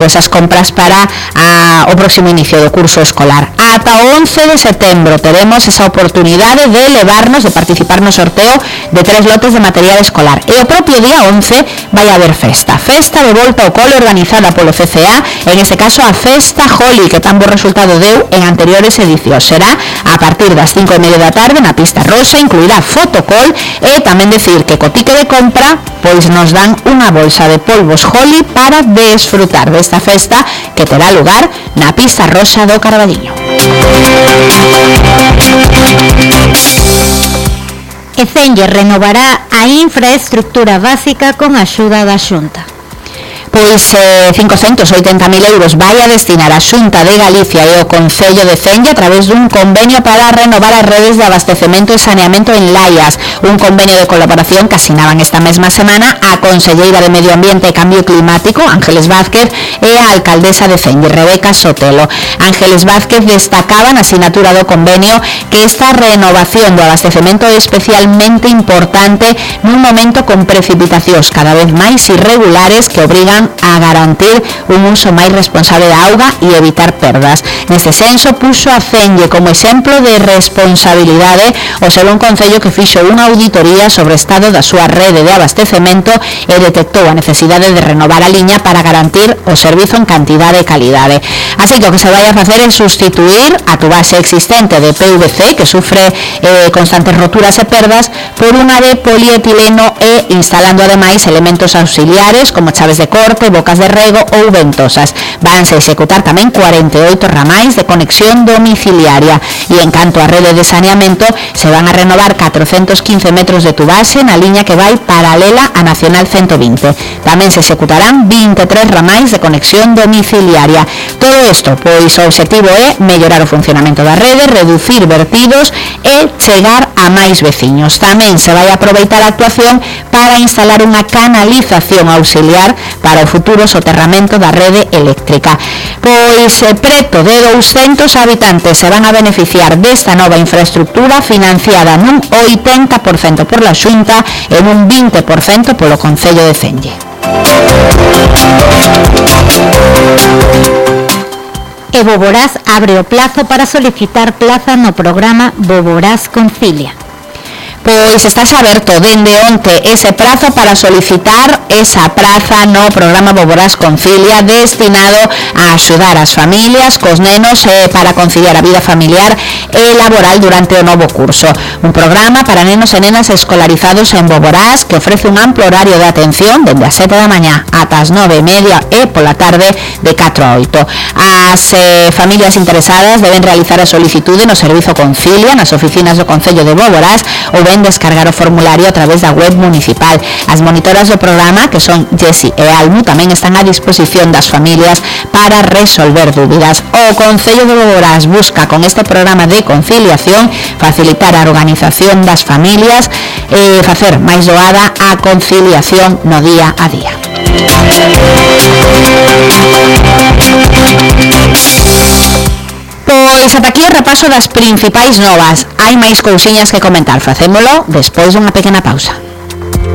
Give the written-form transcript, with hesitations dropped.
pois as compras para o próximo inicio do curso escolar. Ata o 11 de setembro teremos esa oportunidade de levarnos, de participar no sorteo de 3 lotes de material escolar. E o propio día 11 vai haber festa de volta ao cole organizada polo CCA, en este caso a Festa Holly, que tan bo resultado deu en anteriores edicións. Será a partir das 5:30 da tarde na pista rosa, incluirá fotocall e tamén decir que co tique de compra pois nos dan unha bolsa de polvos Holly para desfrutar desta festa que terá lugar na pista rosa do Carballiño. E Fenlle renovará a infraestructura básica con axuda da Xunta. Pois 580.000 euros vai a destinar a Xunta de Galicia e o Concello de Fenlle a través dun convenio para renovar as redes de abastecemento e saneamento en Laias, un convenio de colaboración que asinaban esta mesma semana a conselleira de Medio Ambiente e Cambio Climático, Ángeles Vázquez, e a alcaldesa de Fenlle, Rebeca Sotelo. Ángeles Vázquez destacaba na asinatura do convenio que esta renovación do abastecemento é especialmente importante nun momento con precipitacións cada vez máis irregulares que obrigan a garantir un uso máis responsable da auga e evitar perdas. Neste senso, puxo a Fenlle como exemplo de responsabilidade o ser un concello que fixo unha auditoría sobre o estado da súa rede de abastecemento e detectou a necesidade de renovar a liña para garantir o servizo en cantidade e calidade. Así que o que se vai a facer é sustituir a tubase existente de PVC, que sufre constantes roturas e perdas, por unha de polietileno e instalando ademais elementos auxiliares como chaves de corte, bocas de rego ou ventosas. Vanse executar tamén 48 ramais de conexión domiciliaria e en canto a rede de saneamento se van a renovar 415 metros de tubase na liña que vai paralela a Nacional 120. Tamén se executarán 23 ramais de conexión domiciliaria. Todo isto, pois o objetivo é mellorar o funcionamento da rede, reducir vertidos e chegar a máis veciños. Tamén se vai aproveitar a actuación para instalar unha canalización auxiliar para o futuro soterramento da rede eléctrica. Pois preto de 200 habitantes se van a beneficiar desta nova infraestructura financiada nun 80% por la Xunta e nun 20% polo Concello de Fenlle. E Boborás abre o plazo para solicitar plaza no programa Boborás Concilia. Pois está aberto dende onte ese prazo para solicitar esa praza no programa Boborás Concilia destinado a axudar as familias cos nenos para conciliar a vida familiar e laboral durante o novo curso. Un programa para nenos e nenas escolarizados en Boborás que ofrece un amplo horario de atención dende as 7 da mañá ata as 9:30 e pola tarde de 4 a 8. As familias interesadas deben realizar a solicitude no Servizo Concilia nas oficinas do Concello de Boborás ou ben descargar o formulario a través da web municipal. As monitoras do programa, que son Jessy e Almu, tamén están a disposición das familias para resolver dúbidas. O Concello de Boborás busca con este programa de conciliación facilitar a organización das familias e facer máis doada a conciliación no día a día. Pois ata aquí o repaso das principais novas. Hai máis cousiñas que comentar. Facémolo despois dunha pequena pausa.